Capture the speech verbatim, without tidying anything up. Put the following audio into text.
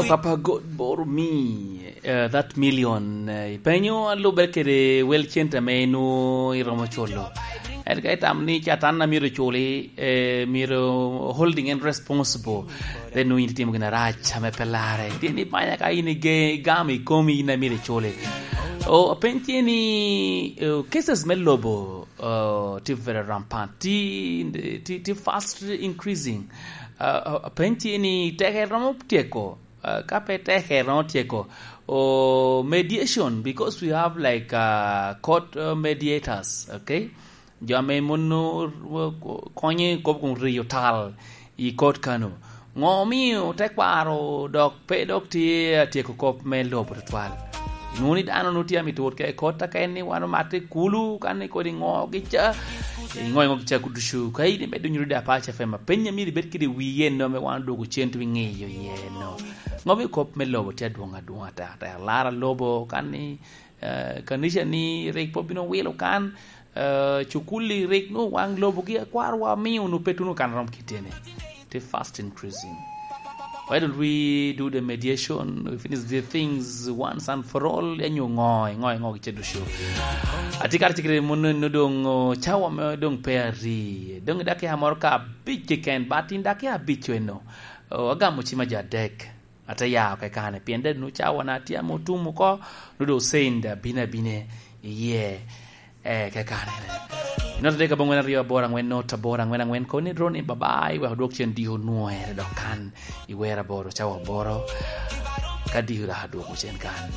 Papa God boro mi, eh, that million, eh, ipenyo alubere kede wel cente ame inwo iromo culo. En ka itamo ni catan a myero culi, eh, myero holding en responsible, then nwo in itimo gin arac ame pe larre. Tye ni banya ka in ige-, igamo i komi in a myero iculi. O, apeny tye ni, eh, cases me lobo, eh, tye very rampant, tye, tye, tye fast increasing. Eh, eh, apeny tye ni teke romo tyeko, eh, ka pe teke romo tyeko. O, mediation, because we have, like, uh, court, uh, mediators, okay? Jo ame mono, uh, konyo i kop kun riyo tal i court kano. Ngo omio tekwaro dok pe dok tye atyeko kop me lobo tutwal? Inwoŋo ni dano nwoŋo tye amito wot ka i court, aka en ni wan omatte kulu, kan ni kodi ngo gica, ngo ngo gica kuducu. Ka in imedo nyuto da Apac F M, apeny a myero ibed kede wi eno ame wan odwogo cen tye ŋiyo iye eno. Ngo omio kop me lobo tye adwoŋ adwoŋ ata, ata alara lobo, kan ni, eh, kanica ni rik pe obino wilo kan, eh, cukuli rik nwoŋo waŋ lobogi akwarwa omio nwoŋo pe tuno kan rom kiteni. Tye fast increasing. Why don't we do the mediation? We finish the things once and for all. Enyo ngo, ngo, ngo gice ducu. Atye kare cikere mono eno doŋ, oh, cawa me doŋ pe ari. Doŋ i dakika moro ka abic keken, but in dakika abic eno. Oh, agamo cima jo adek. Ate ya oko i kane, pien deno cawa na tye ame otum oko, nwoŋo doŋ osend abino abine iye, eh, ke kane. Inote dek aboŋwen aryo aboro aŋwen not aboro aŋwen aŋwen, koni dro ni babai, wek odwok cen diko nwoŋere dok kan i wer aboro cawa aboro, ka diko dok adwoko cen kan.